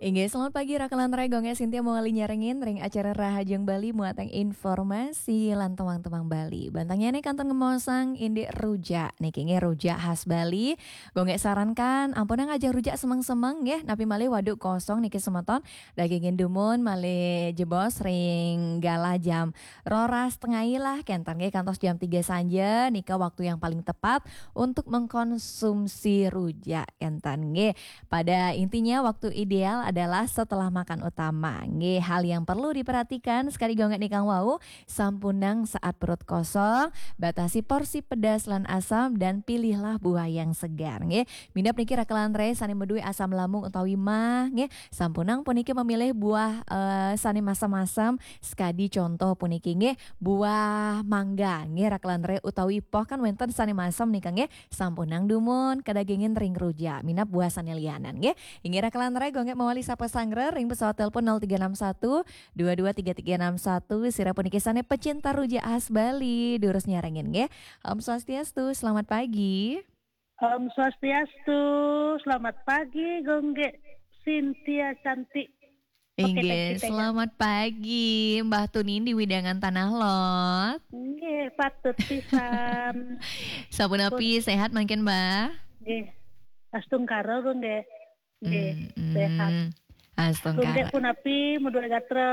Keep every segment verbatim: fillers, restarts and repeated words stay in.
Inggih, selamat pagi, Raka lan Rai. Gonggé Sintia mawali nyarengin ring acara Rahajeng Bali muatan informasi lan tembang-tembang Bali. Bantangnya nih kantun ngemaosang indik rujak. Niki nggih rujak khas Bali. Gonggé sarankan, ampunang ajeng rujak semeng-semeng nggih, napi malih waduk kosong niki semeton. Dagingin dumun malih jebos ring galah jam roras tengai lah, kenten nggih, kantos jam tiga sanja, nika waktu yang paling tepat untuk mengkonsumsi rujak, kenten nggih. Pada intinya, waktu ideal adalah setelah makan utama. Nggih, hal yang perlu diperhatikan, sekadi gonggé nikang wau, sampunang saat perut kosong, batasi porsi pedas lan asam, dan pilihlah buah yang segar. Nggih, minab niki Raka lan Rai sané madué asam lambung utawi mah, nggih, sampunang puniki memilih buah, eh, sané masem-masem, sekadi contoh puniki, nggih, buah mangga, nggih, Raka lan Rai, utawi poh kan wénten sané masem nika, nggih, sampunang dumun kadagingin ring rujak, minab buah sané lianan, nggih. Inggih Raka lan Rai, gonggé mawali sapa sanggra ring pesawat telepon nol tiga enam satu dua dua tiga tiga enam satu, sira puniki sané pecinta rujak khas Bali, durus nyarengin, nggih. Om Swastiastu, selamat pagi. Om Swastiastu, selamat pagi, Gonggé Sintia cantik. Oke, Inggih, thank you, thank you. Selamat pagi, Mbah Tunin di Widangan Tanah Lot. Nggih, patut pisan. Sapunapi, sehat mangkin, Mbah? Nggih. Astungkara, Gonggé. Nggih, Mm-mm. Sehat. Astungkara. Gonggé punapi, madué gatra?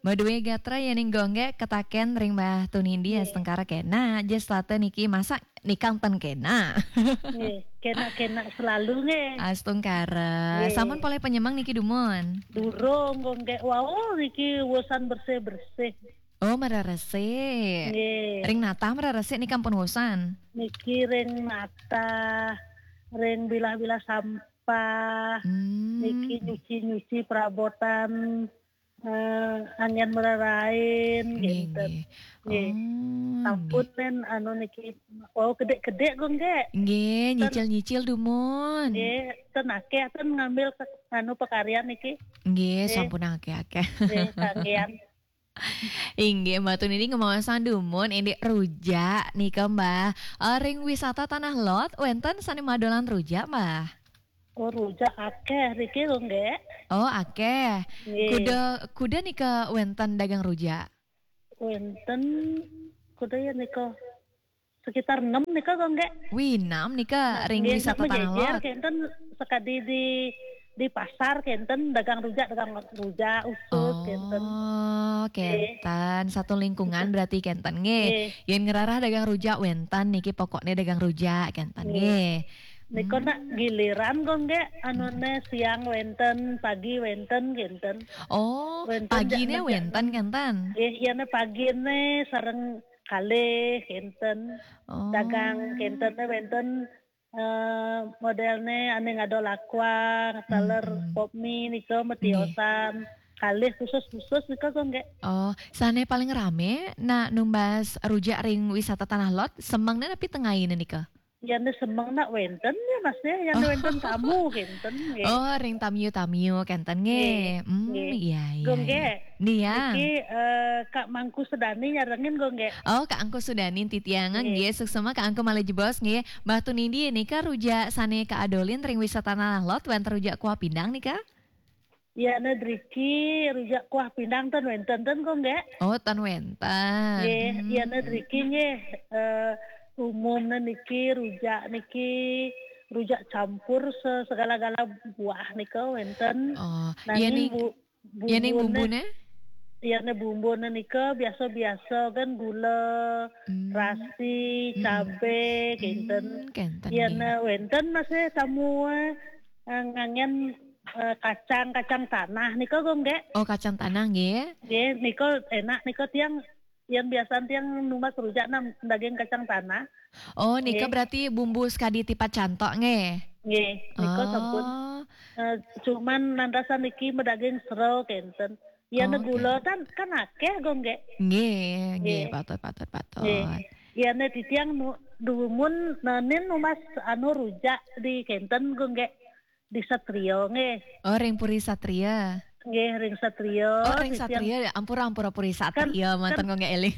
Madué gatra ya ning Gonggé ketaken ring Mbah Tunindi. Nggih. Astungkara kena, jes lata niki masak nikang ten kena. Nggih, kena-kena selalu nggih. Astungkara. Nggih. Sampun polih penyemang niki dumun? Durung, Gonggé. Wau niki wusan bersih-bersih. Oh, mreresik. Nggih. Ring natah mreresik niki ampun wusan? Niki ring natah, ring bilah-bilah sampah, Hmm. niki nyuci-nyuci perabotan, eh, anggén mrerain, Nggih, gitu. Nggih. Nggih. Oh, Sampun nggih. Nen, anu niki, wau kedék-kedék, Gonggé. Nggih, Ten- nyicil-nyicil dumun. Nggih, ten akéh, ten ngambil ke, anu, pekaryan niki. Nggih, Nggih. Sampun akéh-akéh. Nggih, kanggian. Inggih, Mbah Tunindi ngemaosang dumun indik rujak nika, Mbah. Eh, ring wisata Tanah Lot, wénten sané madolan rujak, Mbah? Oh, rujak akéh riki, Gonggé. Oh, akéh. Nggih. Kuda, kuda nika wénten dagang rujak? Wénten, kuda ya nika. Sekitar enam nika, Gonggé. Wih, enam nika ring Nggih, wisata Tanah Lot. Kenten sekadi di, di pasar, kenten dagang rujak, dagang rujak, usus, kenten. Oh, kenten. Nggih. Satu lingkungan berarti kenten, nggih. Nggih. Yén ngrereh dagang rujak wénten niki, pokokné dagang rujak, kenten, nggih. Nggih. Nika nak giliran, Gonggé, anuné siang wénten, pagi wénten, kenten. Oh, wénten paginé wénten, kenten? Nggih, yén paginé sareng kalih, kenten. Oh. Dagang, kenten, wénten, eh, modélné ané ngadol aqua, taler, pop mie nika, nggih, metiosan. Kalih khusus-khusus nika, Gonggé. Oh, sané paling ramé nak numbas rujak ring wisata Tanah Lot, semengné napi tengainé nika? Yén semeng nak wénten ya, Mas, ya, yén wénten tamu, kenten, nggih. Oh, ring tamiu-tamiu, kenten, nggih. Nggih. Hmm, nggih. Iya, iya, Gonggé. Iya. Niki, eh, Kak Mangku Sudani nyarengin, Gonggé. Oh, Kak Angku Sudani titiang, nggih. Nggih, suksma Kak Angku malih jebos, nggih. Mbah Tunindi nika rujak sané kaadolin ring wisata Tanah Lot, wénten rujak kuah pindang nika? Yén driki rujak kuah pindang ten wénten ten, Gonggé. Oh, ten wénten. Nggih, hmm. Yén driki nggih, eh, umumné niki rujak niki, rujak campur se-, segala-gala buah nika wénten. Oh, nanging yén bu-, yén bumbuné? Bumbuné? Yén bumbuné nika biasa-biasa kan gula, hmm, terasi, hmm, cabé, kenten. Hmm, kenten, yén nggih. Wénten masih tamu, eh, nganggén, eh, kacang, kacang tanah nika, Gonggé. Oh, kacang tanah, nggih. Nggih, nika enak nika tiang yén biasan tiang numbas rujak nah daging kacang tanah. Oh, nika nggih. Berarti bumbu sekadi tipat cantok, nggih? Nggih, nika sampun. Oh. Eh, cuman nandasan niki madaging sera kenten. Yén gula kan, kan akéh, Gonggé. Nggih, nggih, nggih. Patut, patut, patut. Nggih. Yén titiang nu-, dumun, nah, nin numbas anu rujak di kenten, Gonggé. Di Satria, nggih. Oh, ring Puri Satria. Nggih, ring Satria. Oh, ring Satria, ampura, ampura, Puri Satria, kan, manten kan, Gonggé éling.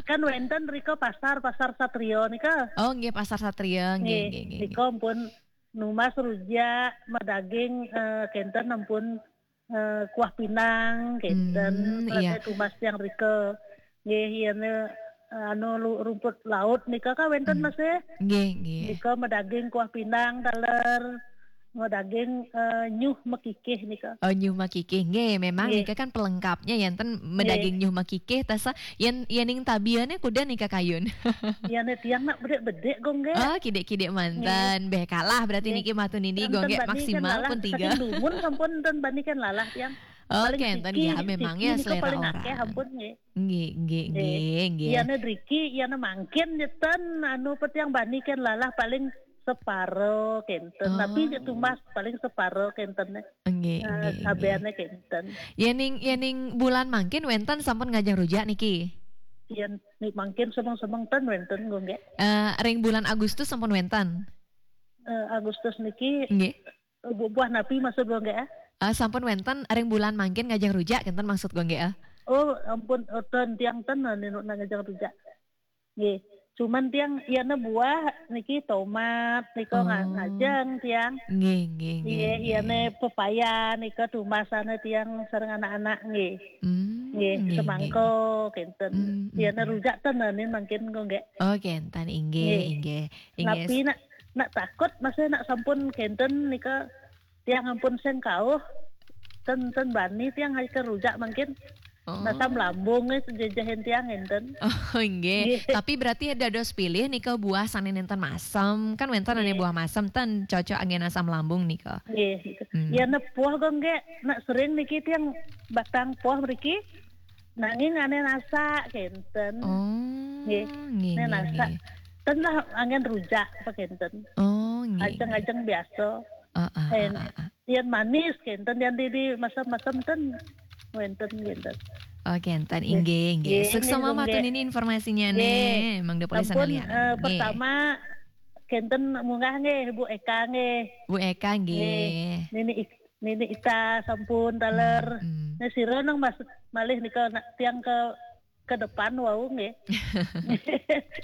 Kan wénten rika pasar, Pasar Satria nika. Oh, nggih, Pasar Satria, nggih, nggih, nggih, nggih. Nika ampun numbas rujak, madaging, eh, kenten ampun eh, kuah pinang, kenten. Hmm, iya. Tumas tiang rika. Nggih, yen, eh, anu, lu-, rumput laut nika kan wenten, hmm, Mas, eh? Nggih, nggih. Nika medaging kuah pinang taler, medaging, eh, nyuh mekikih nika. Oh, nyuh mekikih. Nggih, memang, nggih, nika kan pelengkapnya, enten, nggih, medaging nyuh mekikih, tasa yen, yen ning tabiane kuda nika kayun. Yen tiang nak bedik-bedik, Gong, nggih. Oh, kidik-kidik manten. Nggih. Beh, kalah berarti, nggih, niki Matu Nindi, Gong, nggih, maksimal pun tiga. Saking dumun sampun ten bani kan lalah tiang. Oh, paling kenten siki, ya, memang siki ya nika selera paling orang. Akeh, ampun, nggih. Nggih, nggih, nggih, nggih. Iyane driki, iyane mangkin, jeten, anu, petiang bani kan lalah paling separo kenten. Oh. Tapi je tumas paling separo kenten. Nggih, eh, nggih, nggih. Sabeane kenten. Yening, yening bulan mangkin wenten sampun ngajeng rujak niki? Yen ni mangkin semeng-semeng ten wenten, Gong, nggih. Eh, ring bulan Agustus sampun wenten? Eh, Agustus niki, nggih, bu-, buah napi maksud, Gong, nggih, eh? Eh, sampun wenten ring bulan mangkin ngajeng rujak, kenten maksud, Gong, nggih, eh? Oh, ampun, oh, ten tiang ten, anu, nak ngajeng rujak. Nggih. Cuman tiang iyane buah niki tomat nika nga-, oh, ngajeng tiang. Nggih, nggih, nggih, nggih, nggih. Iyane pepaya nika tumasane tiang sareng anak-anak nggih. Hmm, nggih, nggih, semangka nggih, nggih. Kenten. Hmm, hmm, iyane hmm. Rujak ten ane mangkin kok nggih. Oh, kenten, inggih, nggih, inggih. Inggih. Tapi nak, nak takut masih nak sampun kenten nika tiang ampun sing kauh, ten, ten bani tiang aja rujak mangkin. Oh. Masam lambung, eh, jejehin tiang enten. Oh, nggih. Nggih. Tapi berarti dados pilih nika buah sane nenten masem. Kan wenten ane, nggih, buah masem ten cocok anggen asam lambung nika. Nggih, gitu. Hmm. Ya, nepuh kok nggih, nak sering niki tiang batang poh mriki. Nanging ane nasak kenten. Oh, nggih, nggih, nggih, nasak. Nggih. Ten lah anggen rujak apa kenten. Oh, nggih. Ajeng-ajeng biasa. Ah, ah, ah, ah, ah. Yen manis kenten, yen di, di masam-masam ten wenten kenten. Oh, kenten, nggih, inggih, inggih. Nggih, sukses nggih, sama nggih. Matu nini informasinya nggih. Nih, Mang Depoli. Sampun, sana lihat. Eh, nggih. Pertama kenten munggah nggih, Bu Eka nggih. Bu Eka nggih. Nggih. Nini Ik-, Nini Ita sampun taler. Hmm, hmm. Nih sira nang mas-, malih nika nak tiang ke ke depan wau nggih.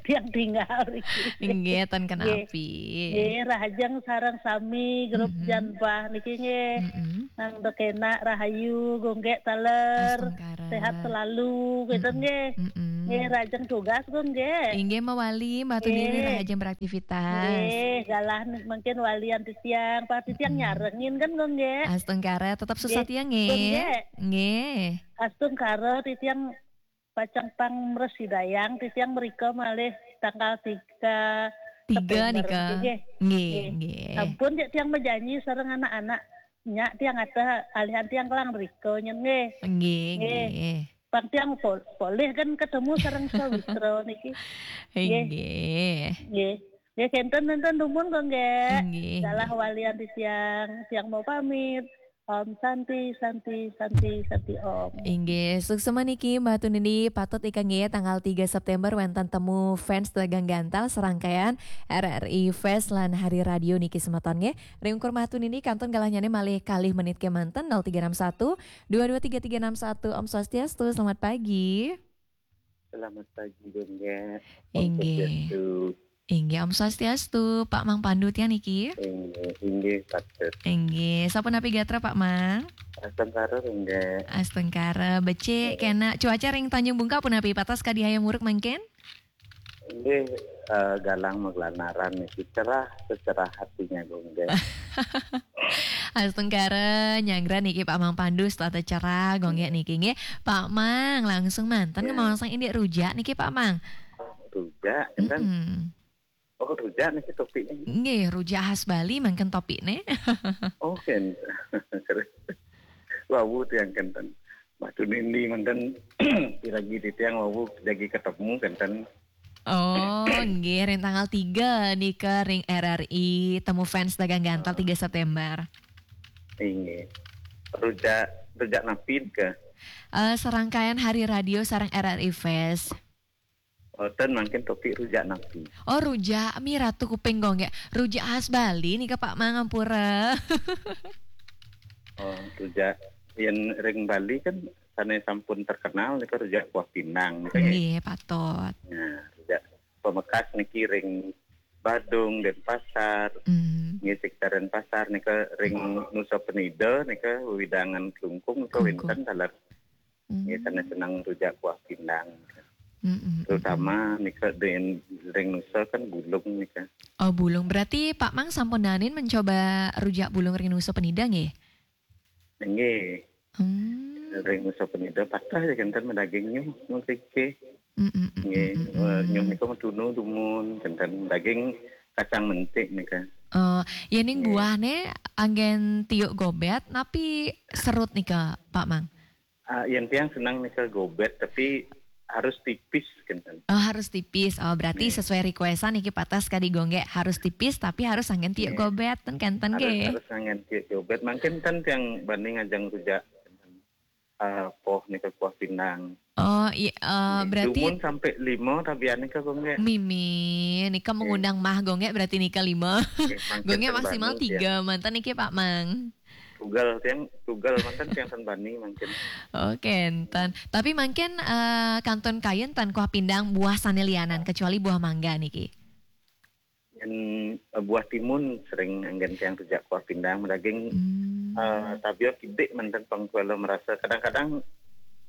Tiang tinggal iki. Nggih, ten kenapi. Nggih. Nggih, rahajeng sareng sami grup, mm-mm, Janbah niki nggih. Mm-mm. Nang dekena rahayu, gonggek taler. Astungkara. Sehat selalu, gitu, mm-mm, nggih. Mm-mm. Nggih, rahajeng tugas, gonggek. Inggih, mawali, Matu nggih. Nini rahajeng beraktivitas. Nggih, galah mungkin walian titiang, pas titiang, mm-mm, nyarengin kan, gonggek. Astungkara, tetap susah nggih. Tiang nggih. Gonggek. Nggih. Astungkara, titiang pacang pangmresidayang, titiang mrika malih tanggal tiga. Tiga September nika. Nggih. Nggih, nggih. Nggih. Sampun, cek tiang majanji sareng anak-anak. Nyak tiang ada alihan tiang kelang mrika nyen nggih. Nggih, nggih. Nggih. Pang tiang pol-, polih kan ketemu sareng sawitra niki. Nggih. Nggih. Nggih. Nggih, kenten, kenten dumun kok nggih. Nggih, nggih. Salah walian di tiang, tiang mau pamit. Om Santi, Santi, Santi, Santi Om. Inggih, suksema niki Mbah Tunini, patut ika nggih tanggal tiga September wenten temu fans Dagang Gantal serangkaian R R I Fest lan Hari Radio niki semeton nggih. Ring ukur Mbah Tunini kantun galahnyane malih kalih menit kemanten, nol tiga enam satu, dua dua tiga tiga enam satu. Om Swastiastu, selamat pagi. Selamat pagi, Bunda. Om Inggih. Swastiastu. Inggih, Om Swastiastu. Pak Mang Pandu tiang niki? Inggih, inggih, patut. Inggih. Sapunapi gatra, Pak Mang? Astungkara, Bunda. Astungkara. Becik, inggih, kena cuaca ring Tanjung Bungka punapi, patas kadi hayam muruk mangkin? Inggih, eh, galang maglanaran niki, cerah secerah hatinya, Bunda. Astungkara, nyanggra niki Pak Mang Pandu, setata cerah, gonggek niki nggih. Pak Mang, langsung manten, ya, ngemaosang indik rujak niki Pak Mang. Rujak, kan? Mm-mm. Oh, rujak niki topiknya. Nggih, rujak khas Bali mangkin topikne. Oh, kan. Wawu tiang kenten. Mbah Tunini manten, piragi titiang wawu jagi ketemu kenten. Oh, nggih, ring tanggal tiga nika ring R R I, temu fans Dagang Gantal, oh, tiga September. Inggih. Rujak, rujak napi ke? Eh, serangkaian Hari Radio sareng R R I Fest. Oh, ten mangkin topik rujak napi? Oh, rujak mi Ratu Kuping gonggek. Rujak khas Bali nika Pak Mang, ampura. Oh, rujak yen ring Bali kan sane sampun terkenal nika rujak kuah pinang nika nggih. Nggih, patut. Nah, rujak pamekas niki ring Badung, Denpasar, Hmm. nggih, sekitar Denpasar nika, ring Nusa Penida nika, wewidangan Klungkung nika Klungkung. Wénten taler. Hmm. Nggih, sané seneng rujak kuah pindang. Mm-mm, Terutama nika den ring Nusa kan bulung nika. Oh, bulung. Berarti Pak Mang sampun danin mencoba rujak bulung ring Nusa Penida nggih? Nggih, Hmm. ring Nusa Penida patah ya kenten dagingnya mriki. Mm-mm, Nggih, mm-mm, eh, mm-mm. nyuh nika medunu dumun, kenten daging kacang mentik nika. Oh, ya ning Nggih. Buahne anggen tiuk gobet, napi serut nika, Pak Mang? Ah, yen tiang seneng nika gobet tapi harus tipis kenten. Oh, harus tipis. Oh, berarti Nggih. Sesuai requestan niki patah sekali gonggek harus tipis tapi harus anggen tiuk Nggih. Gobet ten kenten Harus nggih. Harus anggen tiuk gobet. Mangkin ten tiang bani ngajeng rujak. Ah, poh nika kuah pindang. Oh, iya, eh, berarti Dumun sampai lima tabian nika gonggek. Mimi, nika mengundang mah gonggek berarti nika lima. Nggih, mangkin Gonggek ten maksimal bani, tiga, mantan niki Pak Mang. Tugal tiang, tugal mantan tiang ten bani mangkin. Oke, enten. Tapi mangkin eh, kantun kayun ten kuah pindang buah sane lianan kecuali buah mangga niki. Yen eh, buah timun sering anggen tiang rujak kuah pindang daging Hmm. eh, tabia kidik mantan pengkuala merasa kadang-kadang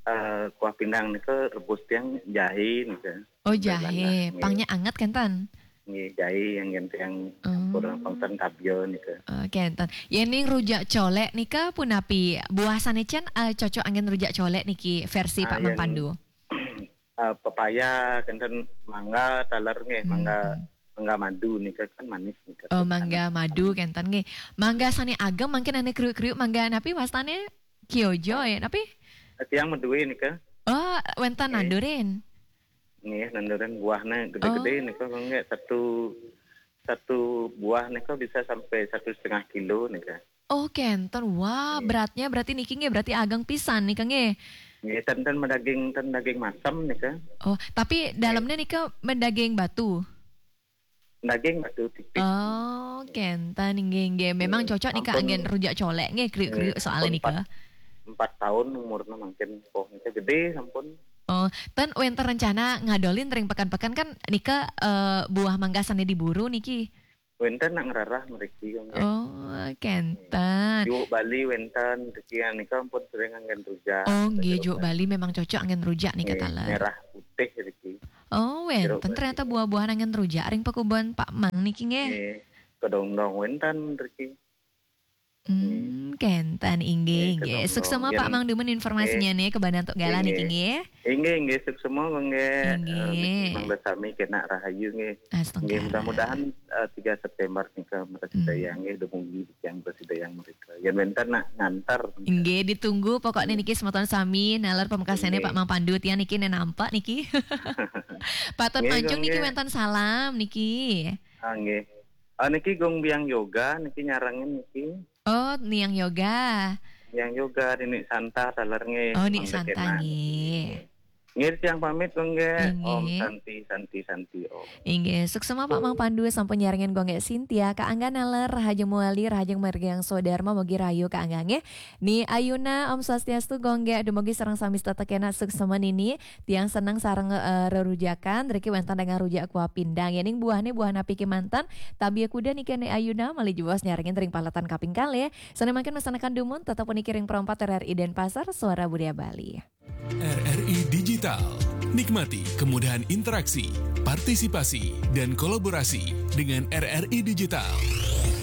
eh, kuah pindang nika rebus tiang jahe nika. Oh, jahe, Nggih. Pangnya anget kenten. Nggih, jahe anggen tiang Oh. Kurang pangtan tabia nika. Oke, enten. Yening rujak colek nika punapi? Buah sane cen eh, cocok anggen rujak colek niki versi Pak Ah, Mang yen- Pandu. Eh, pepaya kenten mangga taler nggih, Hmm. mangga mangga madu nika kan manis nika. Oh, mangga madu kenten nggih. Mangga sane ageng mangkin ane kriuk-kriuk mangga napi wastane? Kyojo ya, napi? Eh, tiang medue nika. Oh, wenten Nggih. Nandurin. Nggih, nanduran buahnya gede-gede Oh. nika gonggek satu satu buah nika bisa sampai satu setengah kilo nika. Oh, kenten. Wah, Nggih. Beratnya berarti niki nggih berarti ageng pisan nika nggih. Nggih, ten ten medaging ten daging masam nika. Oh, tapi dalamnya nika mendaging batu. Daging batu tipis. Oh, kenten nggih nggih. Memang Nggih, cocok nika ampun. Anggen rujak colek nggih kriuk-kriuk Nggih, soalnya ampun, nika. Empat tahun umurnya mungkin poh nika gede sampun. Oh, ten wenten rencana ngadolin ring pekan-pekan kan nika eh, buah mangga sane diburu niki. Wenten nak ngerarah meriki kan. Oh, kenten. Juk Bali wenten riki nika ampun sering anggen rujak. Oh, nggih Nika juk Bali memang cocok anggen rujak nika Nggih, taler. Merah putih riki. Oh, wenten Jeruk ternyata buah-buahan anggen rujak ring pekubuhan Pak Mang niki nggih. Nggih, kedondong wenten riki. Hmm, kenten inggih Nggih, nggih. kedondong. Suksema Pak Yen- Mang dumun informasinya nih kebanan tok galah Nggih. Niki nggih. Inggih, inggih, suksema gonggek. Inggih. Eh, Mang Besami kena rahayu nggih. Astungkara. Nggih, mudah-mudahan eh, tiga September nika mereka Hmm. yang nggih dumugi yang bersidayang mereka. Yang wenten nak ngantar. Inggih, ditunggu pokoknya niki semeton sami nalar pamekasane Inggih. Pak Mang Pandu tiang niki nen nampak niki. Patut Nggih, mancung niki nggih. Wenten salam niki. Ah, nggih. Ah, niki gong biang yoga niki nyarengin niki. Oh, niang yoga. Yang yoga di Nik Santa taler nggih. Oh, Nik Mang Santa Dekena. nggih. Nggih, tiang pamit gonggek. Inggih. Om Santi, Santi, Santi, Om. Inggih, suksema Pak Mang Pandu sampun nyarengin gonggek Sintia, kaangga naler, rahajeng muali, rahajeng margiang sodarma, mogi rahayu kaangga nggih. Ni Ayuna, Om Swastiastu gonggek, dumugi sareng sami setata kena suksema nini, tiang seneng sareng eh, rerujakan, riki wenten dengan rujak kuah pindang. Yening buahne buah napi kemanten, tabia kuda niki Ni Ayuna, malih jebos nyarengin ring paletan kaping kalih. Sane mangkin masanekan dumun, tetep puniki ring perempat R R I Denpasar, Suara Budaya Bali. R R I Digital. Nikmati kemudahan interaksi, partisipasi, dan kolaborasi dengan R R I Digital.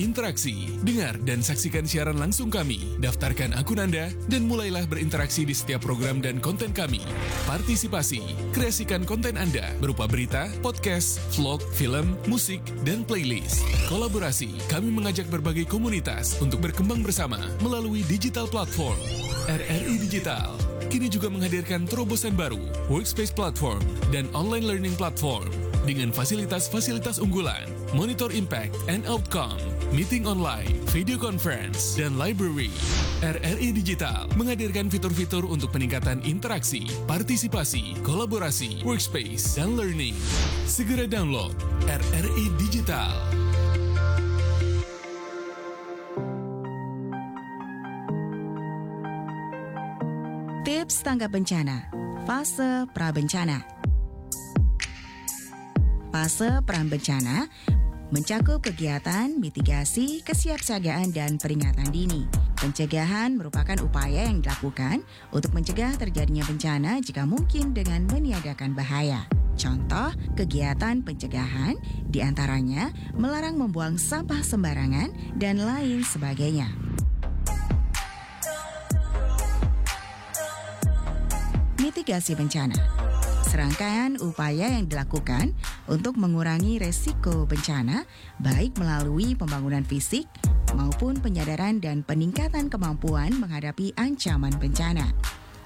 Interaksi, dengar dan saksikan siaran langsung kami, daftarkan akun Anda, dan mulailah berinteraksi di setiap program dan konten kami. Partisipasi, kreasikan konten Anda berupa berita, podcast, vlog, film, musik, dan playlist. Kolaborasi, kami mengajak berbagai komunitas untuk berkembang bersama melalui digital platform. R R I Digital kini juga menghadirkan terobosan baru, Workspace Platform dan Online Learning Platform dengan fasilitas-fasilitas unggulan, monitor impact and outcome, meeting online, video conference, dan library. R R I Digital menghadirkan fitur-fitur untuk peningkatan interaksi, partisipasi, kolaborasi, workspace, dan learning. Segera download R R I Digital. Tips tanggap bencana. Fase pra bencana. Fase pra bencana Mencakup kegiatan mitigasi, kesiapsiagaan, dan peringatan dini. Pencegahan merupakan upaya yang dilakukan untuk mencegah terjadinya bencana jika mungkin dengan meniadakan bahaya. Contoh kegiatan pencegahan diantaranya melarang membuang sampah sembarangan dan lain sebagainya. Mitigasi bencana. Serangkaian upaya yang dilakukan untuk mengurangi resiko bencana, baik melalui pembangunan fisik maupun penyadaran dan peningkatan kemampuan menghadapi ancaman bencana.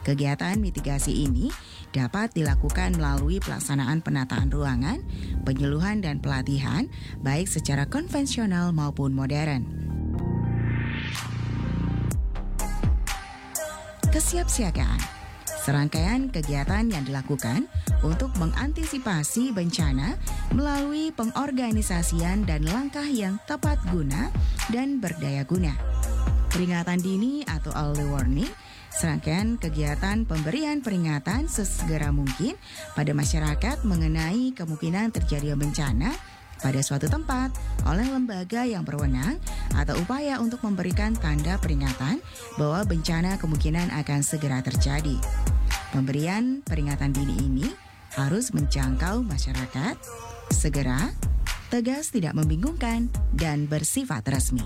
Kegiatan mitigasi ini dapat dilakukan melalui pelaksanaan penataan ruangan, penyuluhan, dan pelatihan, baik secara konvensional maupun modern. Kesiapsiagaan. Serangkaian kegiatan yang dilakukan untuk mengantisipasi bencana melalui pengorganisasian dan langkah yang tepat guna dan berdaya guna. Peringatan dini atau early warning, serangkaian kegiatan pemberian peringatan sesegera mungkin pada masyarakat mengenai kemungkinan terjadinya bencana pada suatu tempat oleh lembaga yang berwenang atau upaya untuk memberikan tanda peringatan bahwa bencana kemungkinan akan segera terjadi. Pemberian peringatan dini ini harus menjangkau masyarakat, segera, tegas, tidak membingungkan, dan bersifat resmi.